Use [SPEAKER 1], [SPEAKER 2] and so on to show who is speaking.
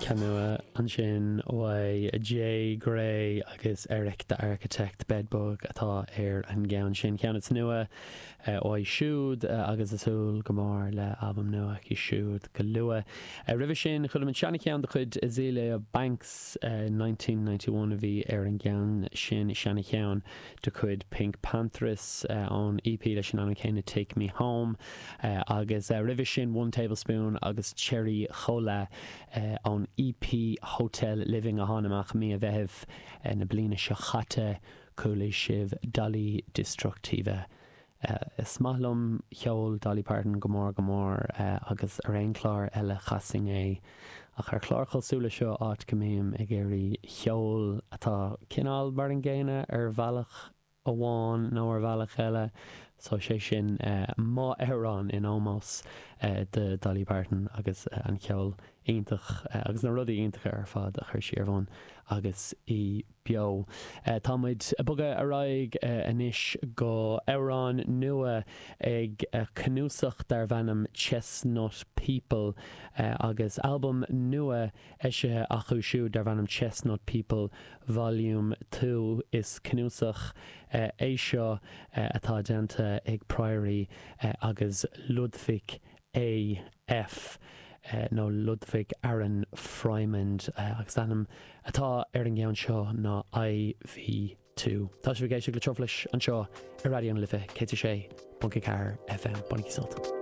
[SPEAKER 1] Ceann nua ansin uaidh Jay Gray agus Erick the Architect, Bedbug atá ar an gceann sin. Ceann is nua uaidh siúd agus ag súil go mór le albam nua aici siúd go luath. Roimhe sin, chuala muid seana-cheann de chuid Azealia Banks, 1991 a bhí ar an gceann sin, seana-cheann de chuid PinkPantheress ón EP leis an ainm céanna Take Me Home agus roimhe sin One Tablespoon agus Cherry Cola ón EP Hotel Living a tháinig amach mí an Mheithimh na bliana seo chaite. Chuala sibh Dolly Destructiva. Is maith liom ceol Dolly Parton go mór go mór agus ar aon chlár eile chasfainn é ach ar chlár cosúil le seo áit go mbím ag iarraidh ceol atá cineál mar an gcéanna ar bhealach amháin nó ar bhealach eile so sé sin m'amhrán in ómós do Dolly Parton agus an ceol iontach agus na rudaí iontacha ar fad a chuir sí ar bun agus í beo. Tá muid ag bogadh ar aghaidh anois go amhrán nua ag cnuasach darbh ainm Chestnut People agus albam nua eisithe acu siúd darbh ainm Chestnut People Volume 2. Is cnuasach é seo atá déanta ag Priory agus Ludwig AF, nó Ludwig Aaron Frimond, agus an t-ainm atá ar an gceann seo ná IV2. Tá sibh ag éisteacht le Truflais anseo ar Raidió na Life 106.4 FM. Bainigí sult.